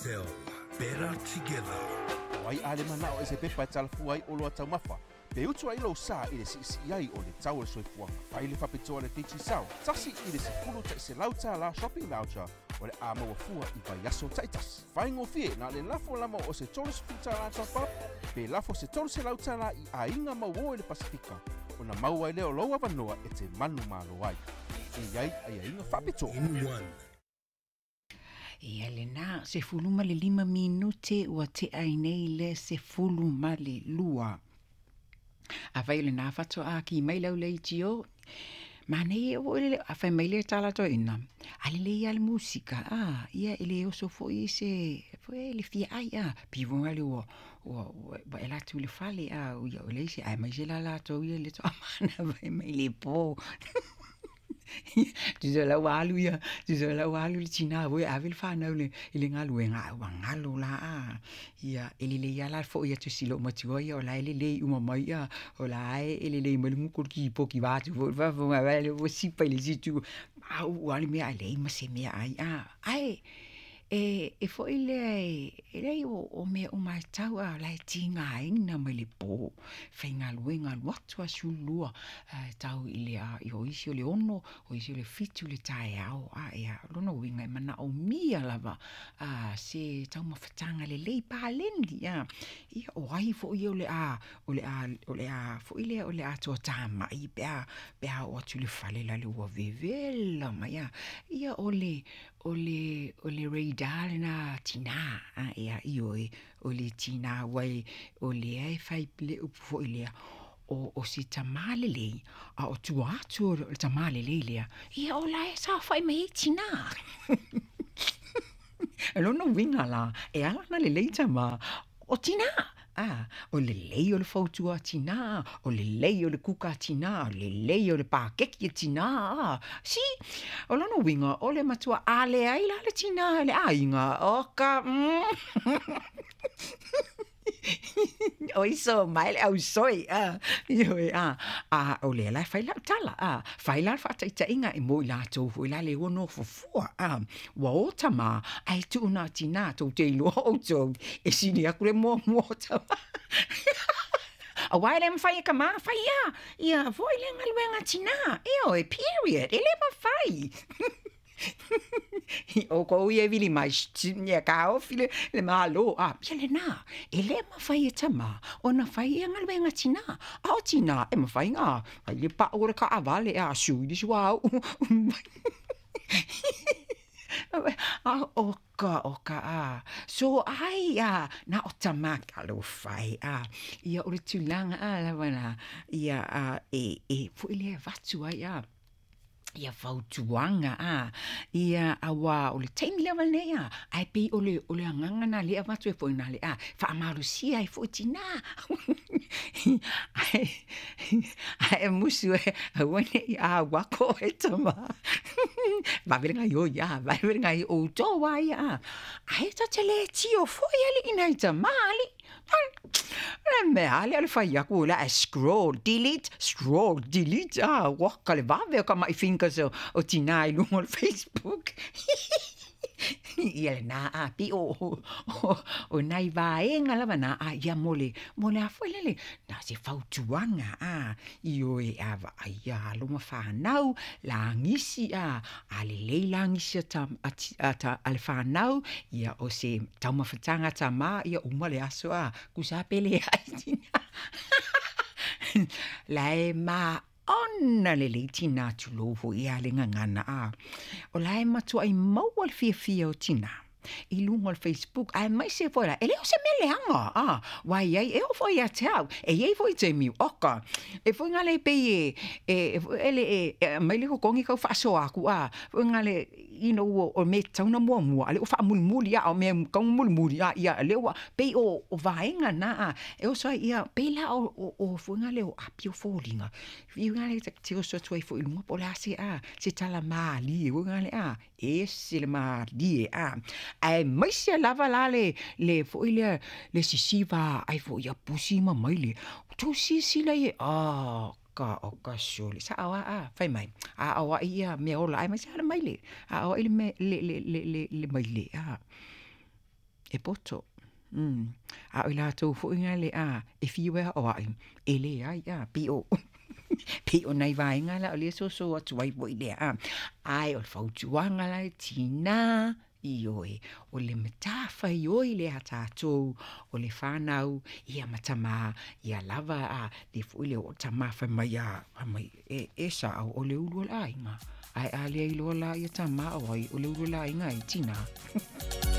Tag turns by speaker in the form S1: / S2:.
S1: Digicel, better together.
S2: O ai a le manao e se pepa e talafua ai oloa taumafa, pe utu ai lou sa i le siisii ai o le tau o le soifuaga. Fai le faapitoa a le Digicel, $1 $100 shopping voucher o le a maua fua i vaiaso taitasi. Faigofie na o le lafo lava o se $30 top up pe lafo se $300 i aiga mauō i le Pasefika ona maua ai lea o lou avanoa e te manumalo ai. E i ai aiaiga faapitoa.
S1: In one.
S3: Ia lena, 15 minute ua tea ai nei le 12. Afai o lena faatoa ki mai lau leitio, manaia foi le a fai mai le tala toeaina, a lelei lava le musika, a, ia e le oso foi se foi le fia ai, a, pei foi lea ua ua ua e alu atu i le fale, a, ia ua leai se, aemaise la latou ia le toamana fai mai le po. Tusa la ua alu ia, tusa la ua alu le tina foi e ave le fanau i le galuega, ae ua galo la a. Ia, e lelei lava la le foi atu i si loomatua ia o la e lelei uma mai a, o la e lelei mai le gutu o le kipoti vaeatu foi le faafofoga mai ua sipa i le isi itu, mauu lava le mea ae leai ma se mea ai a. Ae e foi lea e leai o mea uma lava e tau a o la e tigaina mai le po, faigaluega alu atu lava 12 ae tau i le o isi o le 6, o isi o le 7 le taeao a ia o lona uiga e manaomia lava se taumafataga lelei paleni a. Ia o ai foi o le a o le a o le a foi lea o le a toatamai pe a pe a oo atu i le fale la le ua vevela mai a. Ia o le o le o le radar lena a tina a ia ioe o le tina aua o lea e fai le upu foi lea o se tamā lelei a o tua atu o le tamā lelei lea ia o la e saofai mai ai tina. O lona uiga la, e ala ona lelei tamā, o tina. A, o lelei o le fautua a tina, o lelei o le kuka a tina, o lelei o le pakeki a tina. A. Si, o lona uiga, o le matua a leai la le tina i le aiga, o ka Oiso mai le ausoi a, ioe a, a o lea la e fai lau tala a, fai la le faataitaiga e mo i latou foi la le ua nofo fua a, ua o tamā ae tuu na o tinā, tou te iloa outou e sili atu le muamua o tamā. Aua e le mafai e tamā fai a, ia foi le galuega a tinā, ioe, period, e le mafai. Outou ia e vili mai, ia taofi le Malo, a, ia lena, e le mafai e tamā ona fai ia galuega a tinā, a o tinā e mafai ona fai le pau o le taavale, a sui le suauu. A o ka, o ka, a, so ai a, na o tamā, talofa e, a, ia o le tulaga a lava na, ia a, e, e foi lea e avatu ai a, ia fautuaga a, ia auā o le taimi lava lenei a, ae pei o le o le agaga lena lea e avatu ai foi na le a, faamalosia ai foi tinā. Ae ae musu e aua ne i au aku oe tamā. Vave le gaioi a, vave le gaioi, o outou lava ia a. Ae ta te le tio foi alii nai tamā alii. O le mea lea o le fai atu o le a scroll, delete, scroll, delete, a, ua ka le vave o ka maʻi fingers o tinā i luga o le Facebook. Ia lena a, pei o, o, o nai vaega lava na, a ia mo le, mo le a foi lele, na se fautuaga, a, ioe a vaaia alo ma fanau, lagisi a, a lelei lagisi a ta, a, a, ta, a le fanau, ia o se taumafataga a tamā, ia uma le aso a, tusa pe leai tinā. La e maona lelei tinā tulou foi ia le gagana a. O la e matuai maua le fiafia o tinā i luga o le Facebook aemaise foi la, e le o se mea leaga a, aua e i ai, e oo foi ia te au, e i ai foi taimi, oka, e foi gale pei e, e, e, e, e aumai le totogi tau faasoa atu a, foi gale, you know, o mea e tatau ona muamua, a o lea ua faamulimuli lava, o mea e tatau ona mulimuli, a ia lea ua, pei o vaega na, a, e oso ai, ia, pei la o foi lea o api o foliga, fiu lea ta te oso atu ai foi i luga po o le a se, a, se tala malie foi lea, a, ese le malie, a, aemaise lava la le foi lea, le sisiva ai foi ia pusi ma maile, tou silasila i ai, a, ka o ka sole sao a a fai mai a o ai ia mea ola aemaise lava le maile a o ai le le le le le maile a. E poto. A o i latou foi lea a, e fiu e aoai, e leai a, pei o pei o nai vaega la o lea e soso atu ai foi lea a. Ae o le fautuaga la e tinā, ioe, o le matafaioi lea a tatou, o le fanau, ia ma tamā, ia lava a, lea foi le oo tamā fai mai a, fai mai, e, e sa'o o le ulu o le aiga. Ae a le iloa la ia tamā o ai o le ulu o le aiga e tinā.